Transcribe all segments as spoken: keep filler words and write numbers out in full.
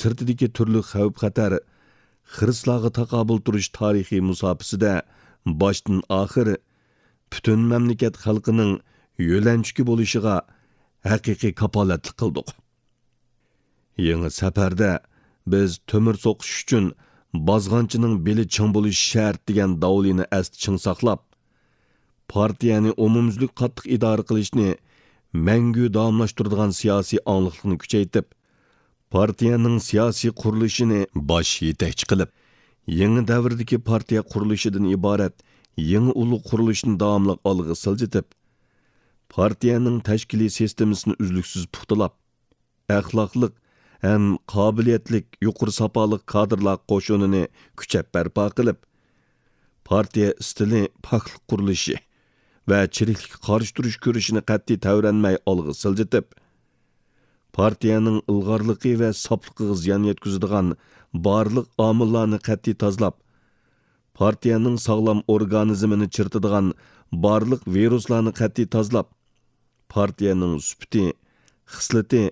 سىرتىدىكى تۈرلۈك خەۋپ-خەتەر، خىرىسلارغا تاقابىل تۇرۇش تارىخىي مۇساپىسىدە باشتىن-ئاخىر پۈتۈن مەملىكەت خەلقىنىڭ يۆلەنچۈكى بولۇشىغا ھەقىقىي كاپالەتلىك قىلدۇق. يېڭى سەپەردە بىز تۆمۈر سوقۇش ئۈچۈن بازغانچىنىڭ بېلى چىڭ بولۇشى شەرت دېگەن داۋلىنى ئەستە چىڭ ساقلاپ، پارتىيەنى ئومۇميۈزلۈك قاتتىق ئىدارە قىلىشنى مەڭگۈ داۋاملاشتۇرىدىغان سىياسىي ئاڭلىقلىقنى كۈچەيتىپ، پارتىيەنىڭ سىياسىي قۇرۇلۇشىنى باش يېتەكچى قىلىپ، يېڭى دەۋردىكى پارتىيە قۇرۇلۇشىدىن ئىبارەت يېڭى ئۇلۇغ قۇرۇلۇشنى داۋاملىق ئالغا سىلجىتىپ، پارتىيەنىڭ تەشكىلىي سىستېمىسىنى ئۈزلۈكسىز پۇختىلاپ، ئەخلاقلىق ھەم قابىلىيەتلىك يۇقىرى ساپالىق كادىرلار قوشۇنىنى كۈچەپ بەرپا قىلىپ، پارتىيە ئىستىلى پاكلىق قۇرۇلۇشى ۋە چىرىكلىككە قارشى تۇرۇش كۈرىشىنى قەتئىي تەۋرەنمەي ئالغا سىلجىتىپ، پارتىيەنىڭ ئىلغارلىقى ۋە ساپلىقىغا زىيان يەتكۈزىدىغان بارلىق ئامىللارنى قەتئىي تازىلاپ، پارتىيەنىڭ ساغلام ئورگانىزمىنى چىرىتىدىغان بارلىق ۋىرۇسلارنى قەتئىي تازىلاپ، پارتىيەنىڭ سۈپىتى، خىسلىتى،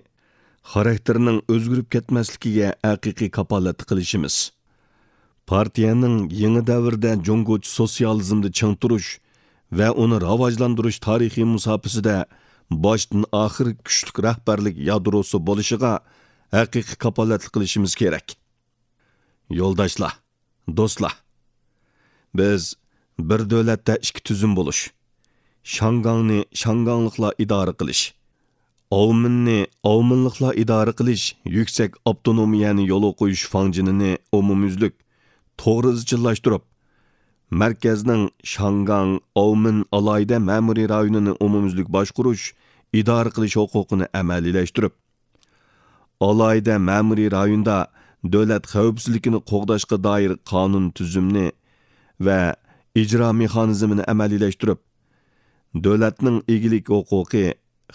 خاراكتېرىنىڭ ئۆزگىرىپ كەتمەسلىكىگە ھەقىقىي كاپالەتلىك قىلىشىمىز. پارتىيەنىڭ يېڭى دەۋردە جۇڭگوچە سوتسىيالىزمدا چىڭ تۇرۇش ۋە ئۇنى راۋاجلاندۇرۇش تارىخىي مۇساپىسىدە باشتىن ئاخىر كۈچلۈك رەھبەرلىك يادروسى بولۇشىغا ھەقىقىي كاپالەتلىك قىلىشىمىز كېرەك. يولداشلار، دوستلار، بىز بىر دۆلەتتە ئىككى تۈزۈم بولۇش، شياڭگاڭنى شياڭگاڭلىقلار ئىدارە قىلىش، ئاۋمېننى ئاۋمېنلىقلار ئىدارە قىلىش يۈكسەك ئاپتونومىيەنى يولغا قويۇش فاڭجېنىنى ئومۇميۈزلۈك، توغرا ئىزچىللاشتۇرۇپ، مەركەزنىڭ شياڭگاڭ ئاۋمېن ئالاھىدە مەمۇرىي رايونىنى ئومۇميۈزلۈك باشقۇرۇش، ئىدارە قىلىش ھوقۇقىنى ئەمەلىيلەشتۈرۈپ، ئالاھىدە مەمۇرىي رايوندا دۆلەت خەۋپسىزلىكىنى قوغداشقا دائىر قانۇن تۈزۈمنى ۋە ئىجرا مېخانىزمىنى ئەمەلىيلەشتۈرۈپ، دۆلەتنىڭ ئىگىلىك ھوقۇقى،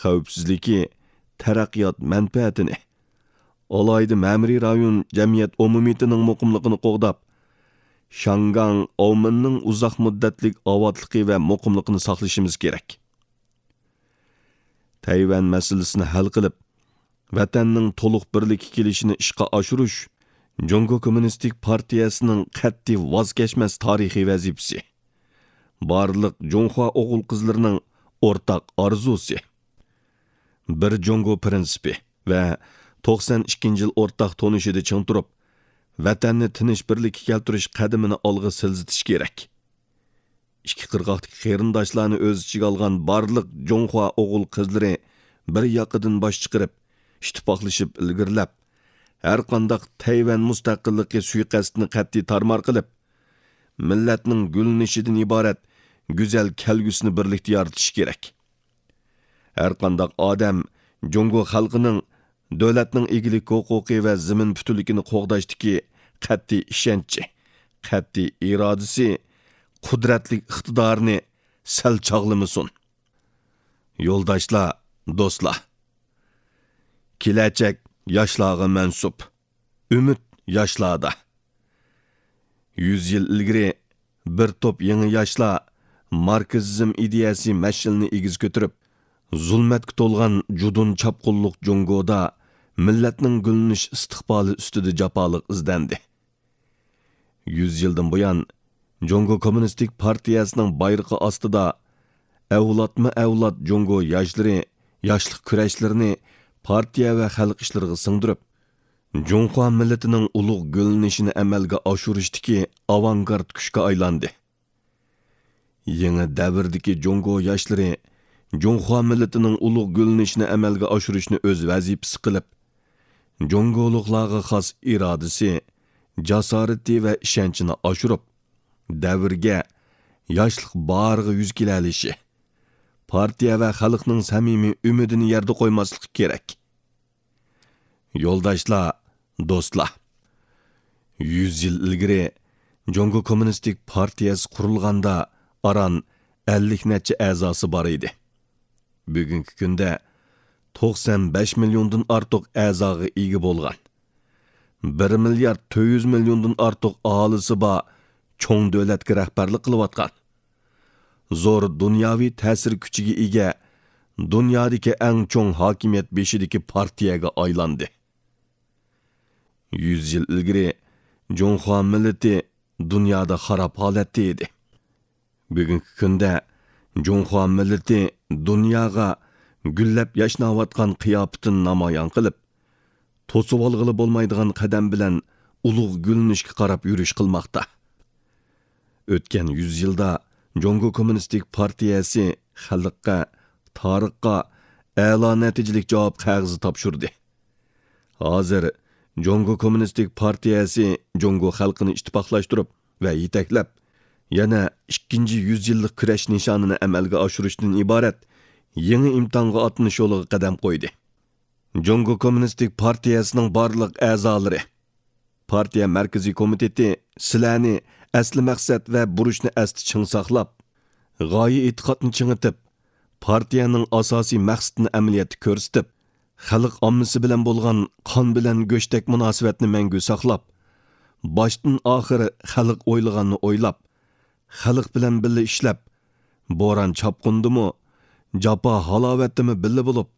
خەۋپسىزلىكى، تەرەققىيات مەنپەئەتىنى، ئالاھىدە مەمۇرىي رايون جەمئىيەت ئومۇمىيىتىنىڭ مۇقىملىقىنى قوغداپ، شياڭگاڭ ئاۋمېننىڭ ئۇزاق مۇددەتلىك ئاۋاتلىقى ۋە مۇقىملىقىنى ساقلىشىمىز كېرەك. تەيۋەن مەسىلىسىنى ھەل قىلىپ، ۋەتەننىڭ تولۇق بىرلىككە كېلىشىنى ئىشقا ئاشۇرۇش جۇڭگو كوممۇنىستىك پارتىيەسىنىڭ قەتئىي ۋاز كەچمەس تارىخىي ۋەزىپىسى، بارلىق جۇڭخۇا ئوغۇل-قىزلىرىنىڭ ئورتاق ئارزۇسى، بىر جۇڭگو پىرىنسىپى ۋە توقسان ئىككىنچى يىل ئورتاق تونۇشىدا چىڭ تۇرۇپ، ۋەتەننى تىنچ بىرلىككە كەلتۈرۈش قەدىمىنى ئالغا سىلجىتىش كېرەك. ئىككى قىرغاقتىكى قېرىنداشلارنى ئۆز ئىچىگە ئالغان بارلىق جۇڭخۇا ئوغۇل-قىزلىرى بىر ياقىدىن باش چىقىرىپ، ئىتتىپاقلىشىپ ئىلگىرىلەپ، ھەرقانداق تەيۋەن مۇستەقىللىقى سۇيىقەستىنى قەتئىي تارمار قىلىپ، مىللەتنىڭ گۈللىنىشىدىن ئىبارەت گۈزەل كەلگۈسىنى بىرلىكتە يارىتىشى كېرەك. ھەرقانداق ئادەم جۇڭگو خەلقىنىڭ دۆلەتنىڭ ئىگىلىك ھوقۇقى ۋە زېمىن پۈتۈنلۈكىنى قوغداشتىكى قەتئىي ئىشەنچى، قەتئىي ئىرادىسى، قۇدرەتلىك ئىقتىدارىنى سەل چاغلىمىسۇن. يولداشلار، دوستلار! كېلەچەك ياشلارغا مەنسۇپ. ئۈمىد ياشلاردا. يۈز يىل ئىلگىرى بىر توپ يېڭى ياشلار ماركسىزم ئىدىيەسى مەشئىلىنى ئېگىز كۆتۈرۈپ، زۇلمەتكە تولغان جۇدۇن چاپقۇنلۇق جۇڭگودا مىللەتنىڭ گۈللىنىش ئىستىقبالى ئۈستىدە جاپالىق ئىزدەندى. يۈز يىلدىن بۇيان، جۇڭگو كوممۇنىستىك پارتىيەسىنىڭ بايرىقى ئاستىدا ئەۋلادمۇ ئەۋلاد جۇڭگو ياشلىرى ياشلىق كۈرەشلىرىنى پارتىيە ۋە خەلق ئىشلىرىغا سىڭدۈرۈپ، جۇڭخۇا مىللىتىنىڭ ئۇلۇغ گۈللىنىشىنى ئەمەلگە ئاشۇرۇشتىكى ئاۋانگارت كۈچكە ئايلاندى. يېڭى دەۋردىكى جۇڭگو ياشلىرى جۇڭخۇا مىللىتىنىڭ ئۇلۇغ گۈللىنىشىنى ئەمەلگە ئاشۇرۇشنى ئۆز ۋەزىپىسى قىلىپ، جۇڭگولۇقلارغا خاس ئىرادىسى، جاسارىتى ۋە ئىشەنچىنى ئاشۇرۇپ، دەۋرگە، ياشلىق باھارىغا يۈز كېلەلىشى، پارتىيە ۋە خەلقنىڭ سەمىمىي ئۈمىدىنى يەردە قويماسلىقى كېرەك. يولداشلار، دوستلار! يۈز يىل ئىلگىرى جۇڭگو كوممۇنىستىك پارتىيەسى قۇرۇلغاندا ئاران ئەللىك نەچچە ئەزاسى بار ئىدى. بۈگۈنكى كۈندە توقسان بەش مىليوندىن ئارتۇق ئەزاغا ئىگە بولغان، بىر مىليارد تۆت يۈز مىليوندىن ئارتۇق ئاھالىسى بار چوڭ دۆلەتكە رەھبەرلىك قىلىۋاتقان، زور دۇنياۋى تەسىر كۈچىگە ئىگە، دۇنيادىكى ئەڭ چوڭ ھاكىمىيەت بېشىدىكى پارتىيەگە ئايلاندى. يۈز يىل ئىلگىرى جۇڭخۇا مىللىتى دۇنيادا خاراب ھالەتتە ئىدى. بۈگۈنكى كۈندە جۇڭخۇا مىللىتى دۇنياغا گۈللەپ ياشناۋاتقان قىياپىتىنى نامايان قىلىپ، توسۇۋالغىلى بولمايدىغان قەدەم بىلەن ئۇلۇغ گۈللىنىشكە قاراپ يۈرۈش قىلماقتا. ئۆتكەن يۈز يىلدا جۇڭگو كوممۇنىستىك پارتىيەسى خەلققە، تارىخقا ئەلا نەتىجىلىك جاۋاب قەغىزى تاپشۇردى. ھازىر جۇڭگو كوممۇنىستىك پارتىيەسى جۇڭگو خەلقىنى ئىتتىپاقلاشتۇرۇپ ۋە يېتەكلەپ، يەنە ئىككىنچى يۈز يىللىق كۈرەش نىشانىنى ئەمەلگە ئاشۇرۇشتىن ئىبارەت يېڭى ئىمتىھانغا ئاتلىنىش يولىغا قەدەم قويدى. جۇڭگو كوممۇنىستىك پارتىيەسىنىڭ بارلىق ئەزالىرى، پارتىيە مەركىزىي كومىتېتى سىلەرنى ئەسلى مەقسەت ۋە بۇرچنى ئەستە چىڭ ساقلاپ، غايە ئېتىقادنى چىڭىتىپ، پارتىيەنىڭ ئاساسىي مەقسىتىنى ئەمەلىيەتتە كۆرسىتىپ، خەلق ئاممىسى بىلەن بولغان قان بىلەن گۆشتەك مۇناسىۋەتنى مەڭگۈ ساقلاپ، باشتىن ئاخىر خەلق ئويلىغاننى ئويلاپ، خەلق بىلەن بىللە ئىشلەپ، بوران-چاپقۇندىمۇ، جاپا-ھالاۋەتتىمۇ بىللە بولۇپ،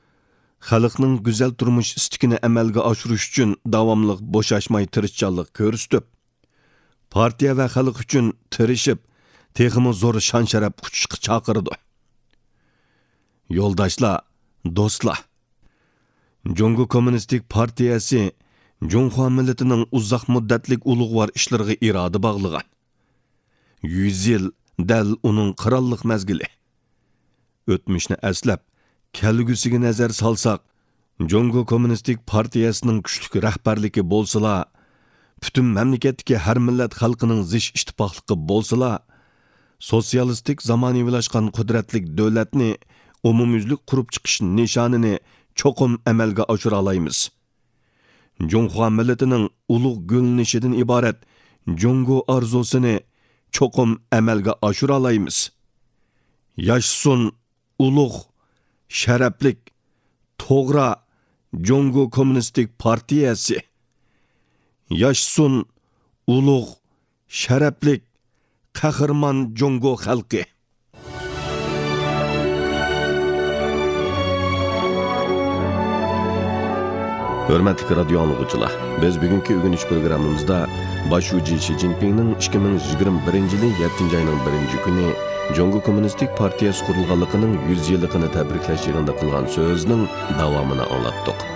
خەلقنىڭ گۈزەل تۇرمۇش ئىستىكىنى ئەمەلگە ئاشۇرۇش ئۈچۈن داۋاملىق بوشاشماي تىرىشچانلىق كۆرسىتىپ، پارتىيە ۋە خەلق ئۈچۈن تىرىشىپ، تېخىمۇ زور شان-شەرەپ قۇچۇشقا چاقىرىدۇ. يولداشلار، دوستلار! جۇڭگو كوممۇنىستىك پارتىيەسى جۇڭخۇا مىللىتىنىڭ ئۇزاق مۇددەتلىك ئۇلۇغۋار ئىشلىرىغا ئىرادە باغلىغان. يۈز يىل دەل ئۇنىڭ قىرانلىق مەزگىلى. ئۆتمۈشنى ئەسلەپ، كەلگۈسىگە نەزەر سالساق، جۇڭگو كوممۇنىستىك پارتىيەسىنىڭ كۈچلۈك رەھبەرلىكى بولسىلا، پۈتۈن مەملىكەتتىكى ھەر مىللەت خەلقىنىڭ زىچ ئىتتىپاقلىقى بولسىلا، سوتسىيالىستىك زامانىۋىلاشقان قۇدرەتلىك دۆلەتنى ئومۇميۈزلۈك قۇرۇپ چىقىش نىشانىنى چوقۇم ئەمەلگە ئاشۇرالايمىز. جۇڭخۇا مىللىتىنىڭ ئۇلۇغ گۈللىنىشىدىن ئىبارەت جۇڭگو ئارزۇسىنى چوقۇم ئەمەلگە ئاشۇرالايمىز. ياشىسۇن ئۇلۇغ، شەرەپلىك، توغرا جۇڭگو كوممۇنىستىك پارتىيەسى! ياشىسۇن ئۇلۇغ، شەرەپلىك، قەھرىمان جۇڭگو خەلقى! ھۆرمەتلىك رادىيو ئاڭلىغۇچىلار، بىز بۈگۈنكى ئۆگىنىش پروگراممىمىزدا باش شۇجى شى جىنپىڭنىڭ ئىككى مىڭ يىگىرمە بىرىنچى يىلى يەتتىنچى ئاينىڭ بىرىنچى كۈنى جۇڭگو كوممۇنىستىك پارتىيەسى قۇرۇلغانلىقىنىڭ يۈز يىللىقىنى تەبرىكلەش يىغىنىدا قىلغان سۆزىنىڭ داۋامىنى ئاڭلاتتۇق.